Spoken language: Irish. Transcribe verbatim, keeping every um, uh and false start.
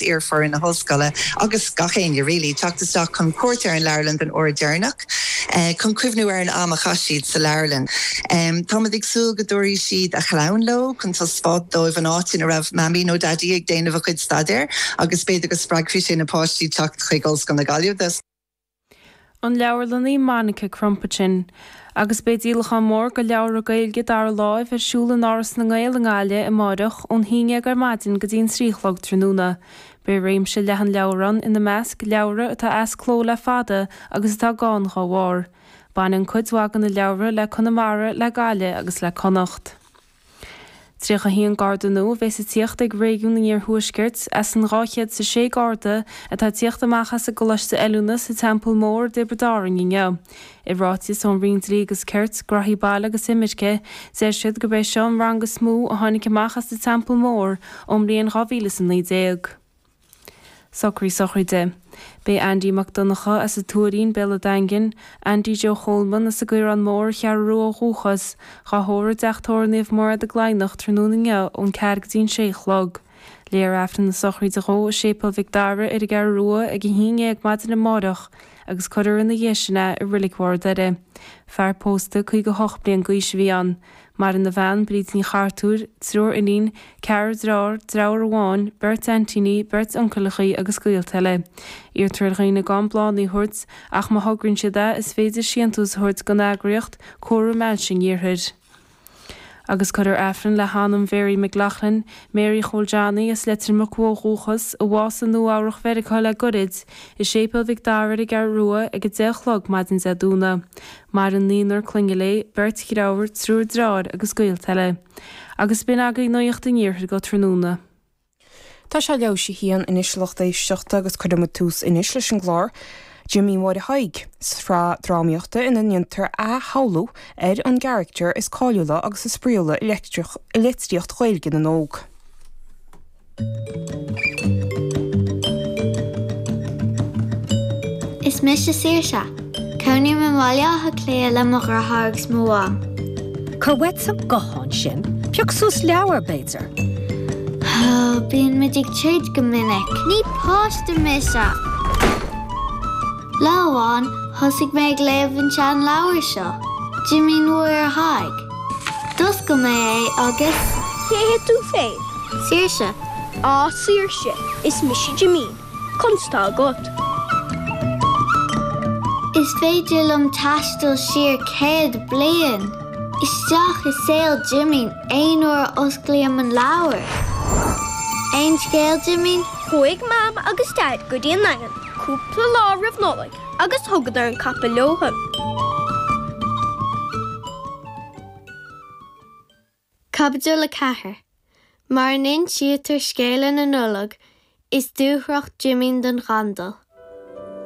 iar-fhoireann na hollscoile agus gach éinne really teacht isteach chun cuairt ar an leabharlann den uair dheireanach eh, chun cuimhniú ar an am a chaith siad sa leabharlann. Um, Táimid ag súil go dtabharfaidh siad a chlann leo chun taispeáint dóibh an áit ina raibh mamaí nó daidí ag déanamh a chuid staidéir agus b'fhéidir go spreagfaidh sé na páistí teacht chuig Ollscoil na Gaillimhe. An leabharlannaí Monica Crumpachin. Agus beidh díolachán mór de leabhra Gaeilge dara láimh ar siúl in Áras na nGael i nGaillimh amárach ón haon déag ar maidin go dtí an trí a chlog tráthnóna. Beidh réimse leathan leabhar ann ina measc leabhra atá as cló le fada agus atá gann dá bharr. Baineann cuid mhaith de na leabhra le Conamara le Gaillimh agus le Connacht. Tríocha haon garda nua a bheas ag tíocht ag réigiún an Iarthuaiscirt as an dhá chéad is a sé garda atá ag tíocht amach as an gcoláiste oiliúna sa Teampall Mór i dTiobraid Árann inniu. I ráiteas ón Roinn Dlí agus Cirt, Gnóthaí Baile agus Imirce, deir siad gurb é seo an rang is mó a tháinig amach as an Teampall Mór ón mbliain dhá mhíle is a naoi déag. Socraí sochraide. Beidh Andy Mac Donncha as an Tuairín, Béal an Daingin, Andy Joe Cholman as an gCaorán Mór, an Cheathrú Rua ó dhúchas, dhá thórramh i dTeach Tórraimh Naomh Mairéad i gCladhnach tráthnóna inniu ón ceathair go dtí an sé a chlog. Léifear Aifreann na sochraide dhó i Séipéal Mhic Dara ar an gCeathrú Rua ag a haon dhéag maidin amárach agus cuirfear ina dhiaidh sin é i Reilig Bharr an Doire. Fear pósta caoga hocht bliain d'aois a bhí ann. Maireann a bhean, Bríd Ní Chartúir, triúr iníon, ceathrar dearthár, deartháir amháin, beirt aintíní, beirt uncaileachaí agus gaolta eile. Iarrtar ar dhaoine gan bláthanna a thabhairt ach má thograíonn siad é is féidir síntiús a thabhairt don eagraíocht Córa Meilse an Iarthair. Agus cuirfear Aifreann le hanam Mhary McLaughlin, Mary Chóil Johnny as Leitir Muc ó dhúchas, a bhásaigh i Nua-Eabhrac Mheiriceá le goirid, i Séipéal Mhic Dara ar an gCeathrú Rua ag a deich a chlog maidin Dé Domhnaigh. Maireann naonúr clainne léi, beirt dheirfiúr, triúr dearthár agus gaolta eile. Agus b'in agaibh nuacht an iarthair go tráthnóna. Tá sé leathuair théis a haon anois a lucht éisteachta agus cuirfimid tús anois leis an gclár Jimín Mháire Thaidhg, sraith drámaíochta ina ndéantar athshamhlú ar an gcarachtar is cáiliúla agus is spraíúla i litríocht Ghaeilge na n-óg. Is mise Saoirse. Cónaím i mBaile Átha Cliath le mo dheartháir agus mo mham. Cuir uait an guthán sin, pioc suas leabhar, b'fhéidir. Bíonn muid ag troid go minic. Ní páiste mise! Lá amháin, thosaigh mé ag léamh an seanleabhar seo, Jimín Mháire Thaidhg. D'oscail mé é agus. Cé hé tú féin? Saoirse. Á, Saoirse, is mise Jimín. Conas tá agat? Is féidir liom taisteal siar céad bliain! Isteach i saol Jimín aon uair a osclaím an leabhar. Aon scéal, Jimín? Chuaigh Mam agus Daid go dtí an Daingean cúpla lá roimh Nollaig agus thugadar an capall leothu. Caibidil a ceathair. Mar a n-insítear scéala na Nollag, is dúthracht Jimín don ghandail.